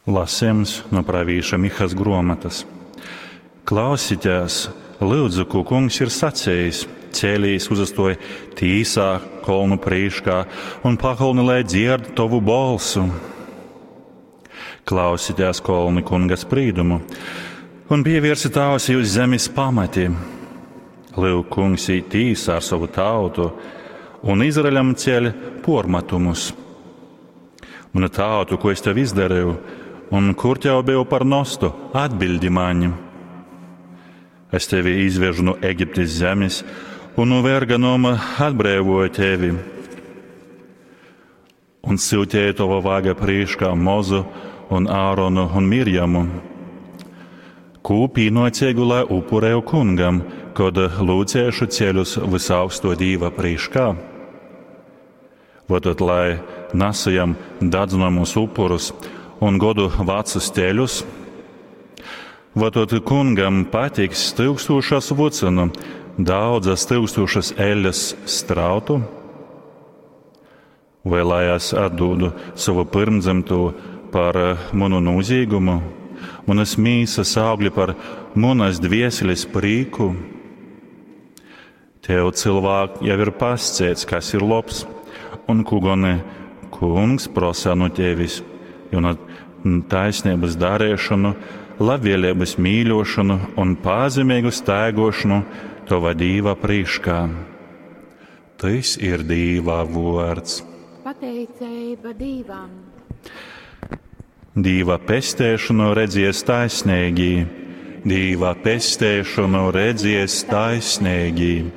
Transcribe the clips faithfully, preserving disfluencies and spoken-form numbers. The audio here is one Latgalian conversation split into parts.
Lasījums no pravīša Mihas gruomatas. Klausieties, lūdzu, ko kungs ir sacījis. Cēlīs uzastoja tīsā kolnu prīškā un pakolni, lai dzird tovu balsu. Klausieties kolni kunga sprīdumu un pievērsiet ausi uz zemes pamatiem. Lūk, kungs īt tīsā ar savu tautu un Izraeļam ceļ pormatumus. Manu tautu, ko es tev izdarīju, un kur tev biju par nostu, atbildi mani. Es tevi izvežu no Eģiptes zemes un no verga noma atbrīvoju tevi. Un sūtīju tava vaga priekšā Mozu un Āronu un Mirjamu. Kū pīnocīgu, lai upurēju kungam, kad lūdzēšu ceļus visaugsto Dīva priekšā. Votot, lai nesajam dadzināmus upurus un godu vecus teļus, votot kungam patiks tūkstošas vucenu, daudzas tūkstošas eļas strautu, vai lai es atdodu savu pirmdzimto par manu nozīgumu, manas mīsas augļi par manas dvieseles prīku? Tev, cilvēk, jau ir pasciets, kas ir labs, un ko gan kungs prasa no tevis, jo no taisnības darīšanu, labvēlības mīļošanu un pazemīgu staigošanu tava Dīva priekšā. Tas ir Dīva vārds. Pateicība Dīvam! Dīva pestēšanu redzies taisnīgi, Dīva pestēšanu redzies taisnīgi.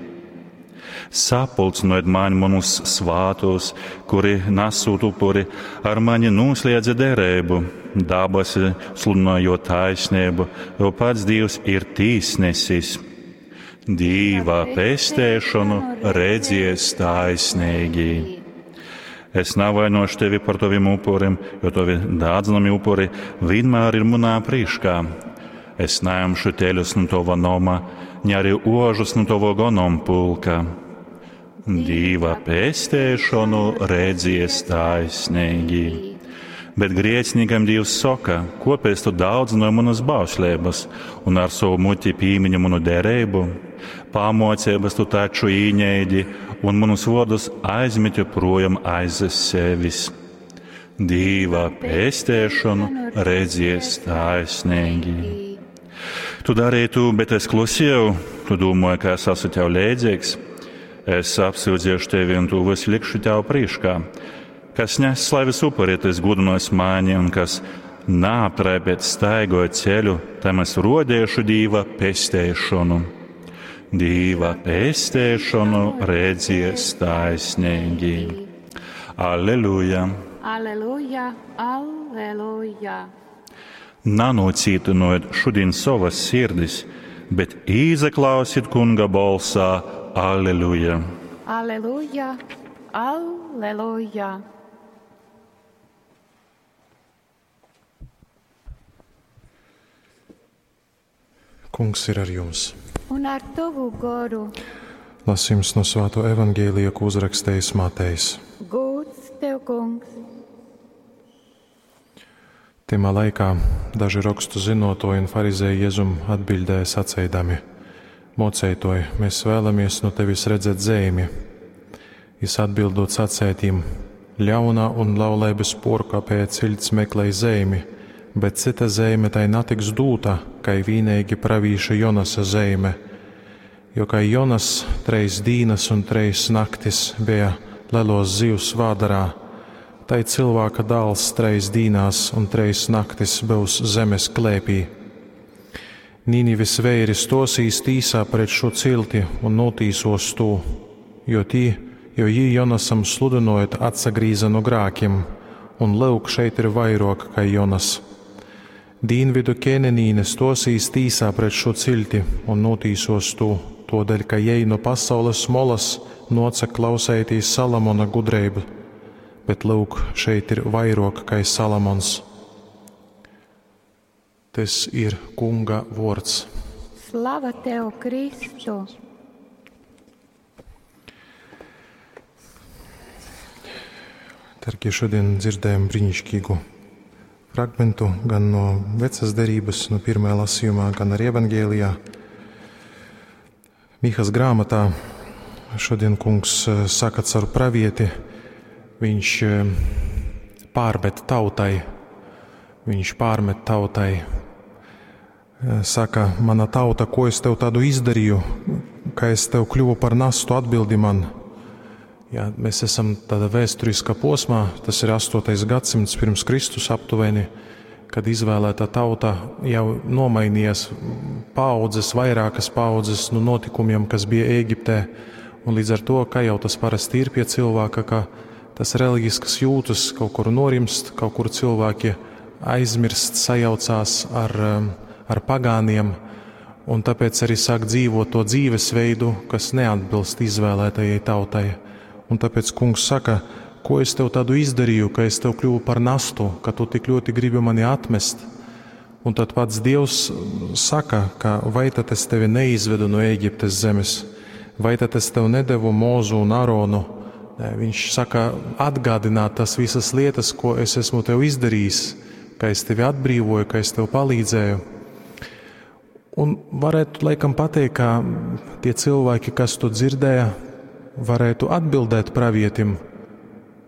Sapulcinot mani manus svātos, kuri nesūt upuri, ar mani noslēdza derību, dabasi sludinājot taisnību, jo pats Dievs ir tīsnesis. Dīva pestēšanu redzies taisnīgi. Es nevainošu tevi par taviem upuriem, jo tavi dādzinami upuri vienmēr ir manā priekšā. Es neimšu teļus no tava noma, ne arī ožus no tava gonompulka. Dīva pestēšanu redzies taisnīgi. Bet grēciniekam Dievs saka, kopēc tu daudzināji manas bauslības un ar savu muti pīmiņu manu derību? Pamocības tu taču īņēdi un manus vārdus aizmeti projām aiz sevis. Dīva pestēšanu redzies taisnīgi. Tu darīji tu, bet es klusēju, tu domāji, ka es esmu tev līdzīgs. Es apsūdzēšu tevi un tu visu likšu tev priekšā. Kas nes slaves upuri, tas gudinos mani, un kas neaptraipēt staigoja ceļu, tam es rodēšu Dīva pestēšanu. Dīva pestēšanu redzies taisnīgi. Alleluja! Aleluja, aleluja! Nanocītinojiet šodien savas sirdis, bet īzaklausiet kunga balsā. Alleluja! Aleluja, aleluja! Kungs ir ar jums. Un ar tavu goru. Lasījums no Svēto evaņģēlija, ko uzrakstījis Matejs. Gūts tev, kungs! Timā laikā daži rakstu zinotoji un farizēji Jēzum atbildēja sacīdami: Mocētoj, mēs vēlamies no tevis redzēt zīmi. Jis atbildot sacētīm: Ļaunā un laulības porkāpēja cilts meklē zīmi, bet cita zīme tai natiks dūta, kai vīnīgi pravīša Jonasa zīme. Jo kai Jonas treis dīnas un treis naktis bija lelos zivs vādarā, tai cilvēka dāls treis dīnās un treis naktis būs zemes klēpī. Nīnives veiri stosīs tīsā pret šo cilti un notīsos to, jo tī, jo jī Jonasam sludinojot atsagrīza no grākiem, un lūk šeit ir vairāk kai Jonas. Dīnvidu ķēnenīne stosīs tīsā pret šo cilti un notīsos to, todēļ, ka jej no pasaules molas noca klausētīs Salamona gudrību, bet lūk, šeit ir vairāk kai Salamons. Tas ir Kunga vārds. Slava tev, Kristu! Tarkie, šodien dzirdējam brīnišķīgu fragmentu gan no vecas derības, no pirmajā lasījumā, gan arī evangēlijā. Mihas grāmatā šodien kungs eh, saka caur pravieti, viņš eh, pārmet tautai, viņš pārmet tautai, eh, saka, mana tauta, ko es tev tādu izdarīju, ka es tev kļuvu par nastu, atbildi man. Jā, mēs esam tādā vēsturiskā posmā, tas ir astotais gadsimts pirms Kristus aptuveni, kad izvēlētā tauta jau nomainījās paaudzes, vairākas paaudzes no notikumiem, kas bija Ēģiptē. Un līdz ar to, kā jau tas parasti ir pie cilvēka, ka tas reliģiskas jūtas kaut kur norimst, kaut kur cilvēki aizmirst, sajaucās ar, ar pagāniem, un tāpēc arī sāk dzīvot to dzīvesveidu, kas neatbilst izvēlētajai tautai. Un tāpēc kungs saka, ko es tev tādu izdarīju, ka es tev kļuvu par nastu, ka tu tik ļoti gribi mani atmest. Un tad pats Dievs saka, ka vai tad es tevi neizvedu no Ēģiptes zemes, vai tad es tev nedevu Mūzu un Aronu. Nē, viņš saka, atgādināt tas visas lietas, ko es esmu tev izdarījis, ka es tevi atbrīvoju, ka es tev palīdzēju. Un varētu laikam pateikt, ka tie cilvēki, kas to dzirdēja, varētu atbildēt pravietim,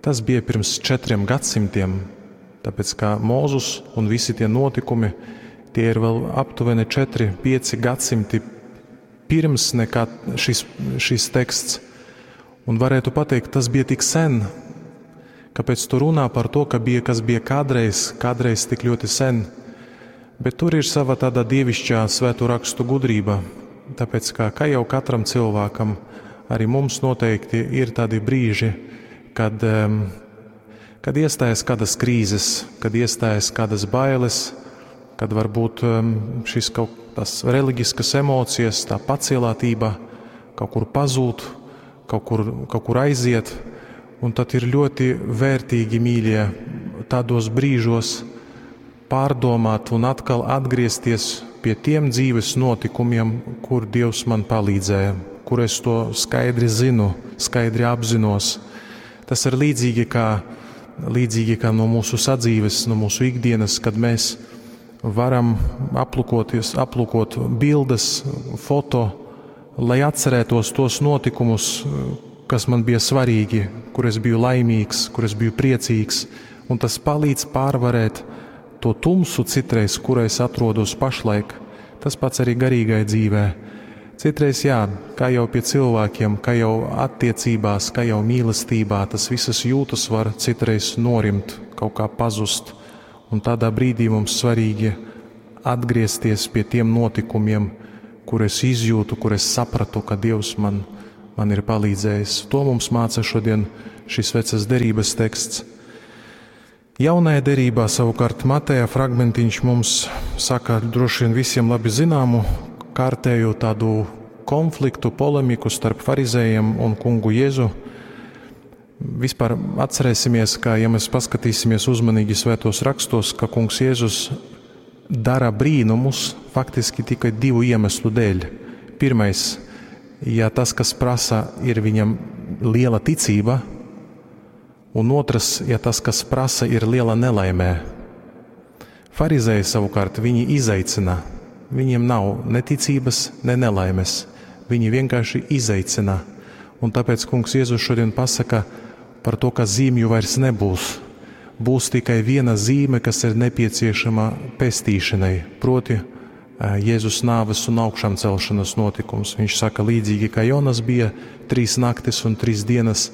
tas bija pirms četriem gadsimtiem, tāpēc kā Mūzus un visi tie notikumi, tie ir vēl aptuveni četri, pieci gadsimti pirms nekā šis, šis teksts. Un varētu pateikt, tas bija tik sen, kāpēc tu runā par to, ka bija, kas bija kādreiz, kādreiz tik ļoti sen. Bet tur ir sava tāda dievišķā svēto rakstu gudrība, tāpēc kā, kā jau katram cilvēkam, arī mums noteikti ir tādi brīži, kad, kad iestājas kādas krīzes, kad iestājas kādas bailes, kad varbūt šis kaut tās reliģiskas emocijas, tā pacielātība kaut kur pazūd, kaut kur, kaut kur aiziet, un tad ir ļoti vērtīgi, mīļie, tādos brīžos pārdomāt un atkal atgriezties pie tiem dzīves notikumiem, kur Dievs man palīdzēja, kur es to skaidri zinu, skaidri apzinos. Tas ir līdzīgi kā, līdzīgi kā no mūsu sadzīves, no mūsu ikdienas, kad mēs varam aplūkoties, aplūkot bildes, foto, lai atcerētos tos notikumus, kas man bija svarīgi, kur es biju laimīgs, kur es biju priecīgs, un tas palīdz pārvarēt to tumsu citreiz, kurā es atrodos pašlaik. Tas pats arī garīgai dzīvē. Citreiz, jā, kā jau pie cilvēkiem, kā jau attiecībās, kā jau mīlestībā, tas visas jūtas var citreiz norimt, kaut kā pazust. Un tādā brīdī mums svarīgi atgriezties pie tiem notikumiem, kur es izjūtu, kur es sapratu, ka Dievs man, man ir palīdzējis. To mums māca šodien šis vecas derības teksts. Jaunajā derībā savukārt Mateja fragmentiņš mums saka droši vien visiem labi zināmu kārtēju tādu konfliktu, polemiku starp farizējiem un kungu Jēzu. Vispār atcerēsimies, ka, ja mēs paskatīsimies uzmanīgi svētos rakstos, ka kungs Jēzus dara brīnumus faktiski tikai divu iemeslu dēļ. Pirmais, ja tas, kas prasa, ir viņam liela ticība, un otrs, ja tas, kas prasa, ir liela nelaimē. Farizēji savukārt viņi izaicina. Viņiem nav ne ticības, ne nelaimes. Viņi vienkārši izaicina. Un tāpēc kungs Jēzus šodien pasaka par to, ka zīmju vairs nebūs. Būs tikai viena zīme, kas ir nepieciešama pestīšanai, proti Jēzus nāves un augšām celšanas notikums. Viņš saka, līdzīgi kā Jonas bija trīs naktis un trīs dienas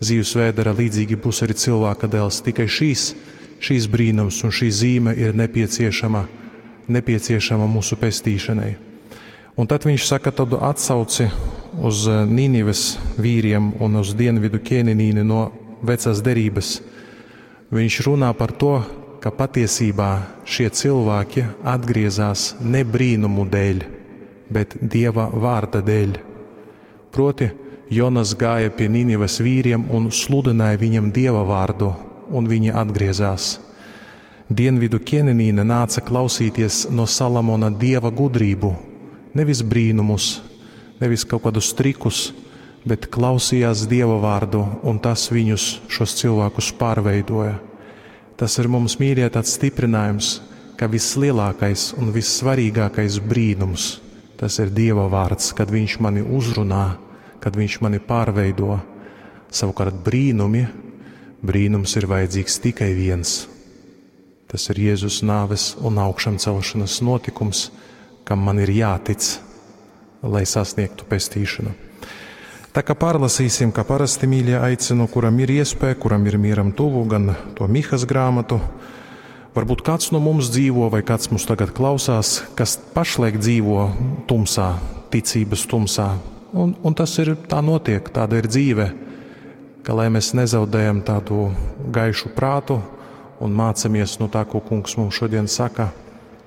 zivs vēdera, līdzīgi būs arī cilvēka dēls. Tikai šīs, šīs brīnums un šī zīme ir nepieciešama, nepieciešama mūsu pestīšanai. Un tad viņš saka tādu atsauci uz Nīnives vīriem un uz dienvidu ķēninīni no vecās derības. Viņš runā par to, ka patiesībā šie cilvēki atgriezās ne brīnumu dēļ, bet Dieva vārda dēļ. Proti, Jonas gāja pie Nīnives vīriem un sludināja viņiem Dieva vārdu, un viņi atgriezās. Dienvidu ķēninīne nāca klausīties no Salamona dieva gudrību, nevis brīnumus, nevis kaut kādus trikus, bet klausījās Dieva vārdu, un tas viņus, šos cilvēkus, pārveidoja. Tas ir mums, mīļie, tāds stiprinājums, ka vislielākais un vissvarīgākais brīnums tas ir Dieva vārds, kad Viņš mani uzrunā, kad Viņš mani pārveido. Savukārt brīnumi, brīnums ir vajadzīgs tikai viens. Tas ir Jēzus nāves un augšām celšanas notikums, kam man ir jātic, lai sasniegtu pestīšanu. Tā kā pārlasīsim, kā parasti mīļie aicinu, kuram ir iespēja, kuram ir mieram tuvu, gan to Mihas grāmatu. Varbūt kāds no mums dzīvo, vai kāds mums tagad klausās, kas pašlaik dzīvo tumsā, ticības tumsā. Un, un tas ir, tā notiek, tāda ir dzīve, ka lai mēs nezaudējam tādu gaišu prātu un mācamies no tā, ko kungs mums šodien saka,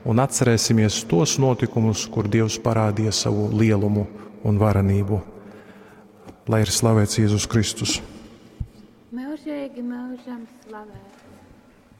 un atcerēsimies tos notikumus, kur Dievs parādīja savu lielumu un varenību. Lai ir slavēts Jēzus Kristus. Mūžīgi mūžam slavēts.